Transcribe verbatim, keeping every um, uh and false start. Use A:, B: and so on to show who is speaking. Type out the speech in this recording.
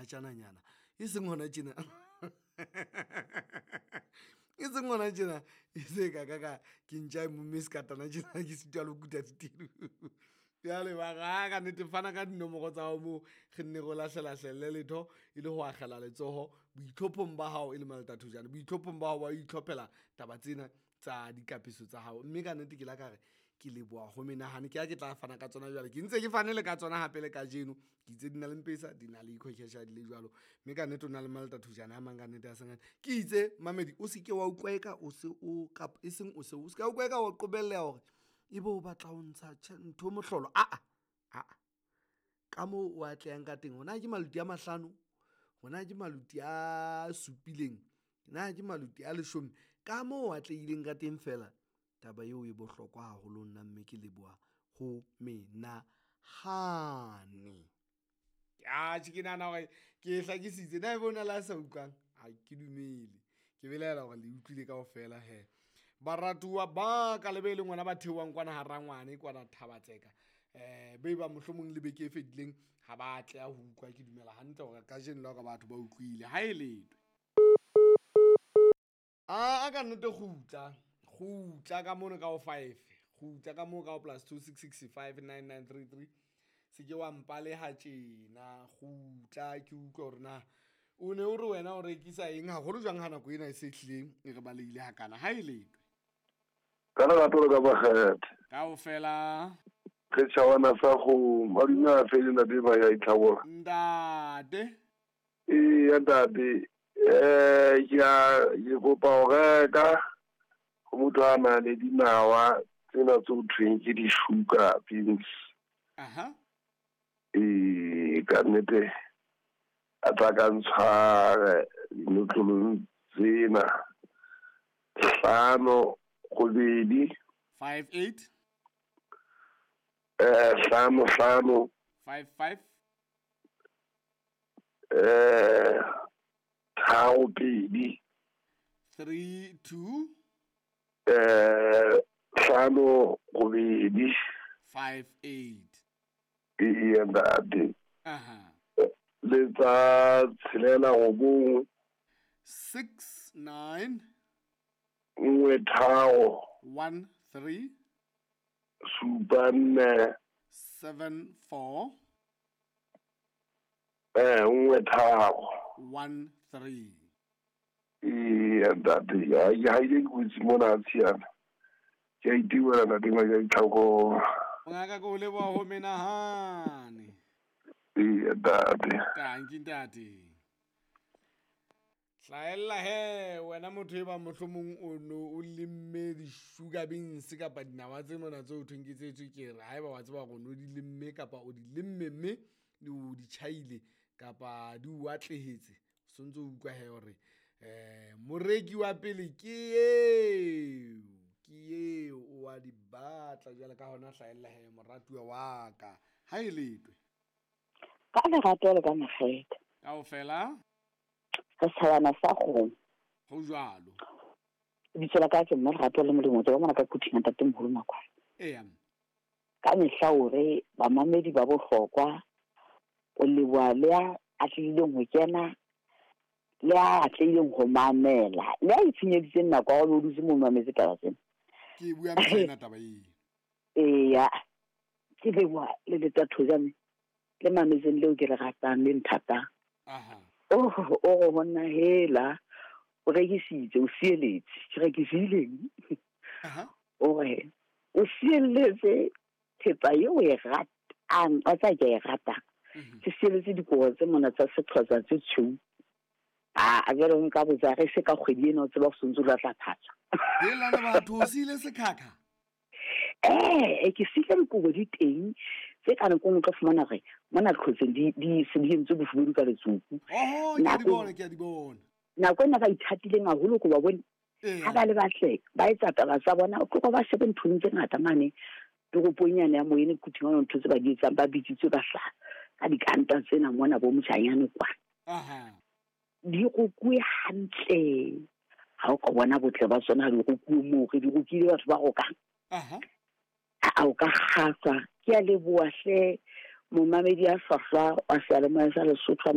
A: Monatjananyana e seng hona tjena e seng hona tjena e se ka ka ka ke ntja e momme sekatana tjena ke sitwa le ho kuta ditedu. Jwale ba re a ka nnete fana ka dinomoro tsa hao moo re nne re o lahlelahlelle letho e le ho akgela letsoho boitlhophong ba hao e le Malta Thojane, boitlhophong ba hao ba ho itlhophela taba tsena tsa dikapeso tsa hao. Mme ka nnete ke la ka re ke leboha ho menahane ke ha ke tla fana ka tsona jwale, ke ntse ke fane le ka tsona hape le kajeno. Ke itse di na le M-Pesa, di na le Ecocash ha di le jwalo. Mme ka nnete o na le Malta Thojane a mang ka nnete a seng ke itse mamedi o se ke wa utlwa eka o se o kapa e seng o se o se ka utlwa eka o qobelleha hore ebe o batla ho ntsha ntho mohlolo. Aa aa ka moo o atlehang ka teng, hona ke maluti a mahlano, hona ke maluti a supileng, na ke maluti a leshome. Ka moo o atlehileng ka teng feela taba eo e bohlokwa haholo nna, mme ke leboha ho menahane. Atjhe, ke nahana hore ke e hlakisitse. Na ebe hona le a sa utlwang? Ha ke dumele. Ke belaela hore le utlwile kaofela hee. Baratuwa ba ka le be leng ngwana ba theohang kwana ha rangwane kwana Thaba-Tseka. Um be bang mohlomong le beke e fetileng ha ba atleha ho utlwa. Ke dumela hantle hore kajeno le hore batho ba utlwile. Ha e letwe. A ka nnete kgutla. Kgutla ka mono ka ho five. Kgutla ka moo ka ho plus two six six five nine nine three three. Se ke wa mpaleha tjena. Kgutla ke utlwe hore na o ne o re wena o rekisa eng haholo jwang ha nako ena e se hlileng e re balehile hakana. Ha e letwe.
B: Ka lerato le ka makgethe.
A: Kaofela.
B: Re tjhawana sa kgomo, madume a fele ntate ba ya itlhabola.
A: Ntate.
B: Eya ntate, eh ke a ke kopa ho reka ho motho a nang le dinawa tsena tse ho thweng ke di-sugar beans.
A: Aha.
B: Ee, ka nnete a tla ka ntshware dinotlolong tsena hlano robedi
A: five eight
B: eh hlano hlano
A: five five
B: eh tharo pedi
A: three two
B: eh hlano robedi
A: five eight.
B: Eya ntate.
A: Aha.
B: Le tsa tshelela robong
A: six nine
B: nngwe tharo
A: one three
B: supa nne
A: seven four
B: eh nngwe tharo
A: one three.
B: Eya ntate, ha ha ile kotsi mona tshiana. Ke a itiwela ntate ngaka itlhoko.
A: Ngaka ko leboha ho menahane.
B: Eya ntate.
A: Tanki ntate. Hlahella he wena motho e bang mohlomong o no o lemme di-sugar beans kapa dinawa tse mona tse ho thweng ke tse tswekere. Haeba wa tseba hore o no di lemme kapa o di lemme mme o di tjhaile kapa di o atlehetse, o sontso o utlwa he hore eh moreki wa pele ke eo, ke eo o wa di batla. Jwale ka hona hlahella he moratuwa wa ka. Ha e letwe.
C: Ka lerato le ka makgethe.
A: Kaofela.
C: Re tshabana sa kgomo.
A: Ho jwalo.
C: Lebitso la ka ke mme Lerato le Molemo, tswa mona ka Quthing ntate moholo Makwala.
A: Eya.
C: Ka mehla hore bamamedi ba bohlokwa o leboha le a atlehileng ho kena le a atlehileng ho mamela le a itshenyeditseng nako ya ho dutse mo mametse taba tsena.
A: Ke bua mehla taba eo.
C: Eya. Ke leboha le Leta Thojane le mametseng leo ke le ratang le nthatang.
A: Aha.
C: Oh, o go nna hela o rekisitse o sieletse ke rekisile.
A: Aha.
C: O re o sieletse thepa eo e ratang a tsa ke e ratang. Ke sieletse dikobo tse mona tsa Sexhosa tse tshweu. A a jwale nka botsa re se ka kgwedi ena o tseba go sontse lo tla phatsa.
A: Hela le batho o siile sekhakha.
C: Eh, ke siile dikobo di teng tse ka nako nngwe o tla fumana hore mona qhotseng di di se di entswe bofubedu ka letsoku.
A: Oho, ke a di bona, ke a di bona.
C: Nako ena ba ithatileng haholo ko ba bone. Ha ba le batle, ba etsa taba tsa bona, o tloha ba shebe nthong tse ngata mane toropong yane ya Moyene Quthing hona ntho tse ba di etsang ba bitsitswe ba hlaha ka dikanta tsena mona bo motjhanyane kwa.
A: Aha.
C: Di rokuwe hantle. Ha o ka bona botle ba tsona di rokuwe moo re di rokile batho ba rokang.
A: Aha.
C: A o ka kgahlwa. Ke a leboha hle momamedi a hlwahlwa wa seyalemoya sa Lesotho a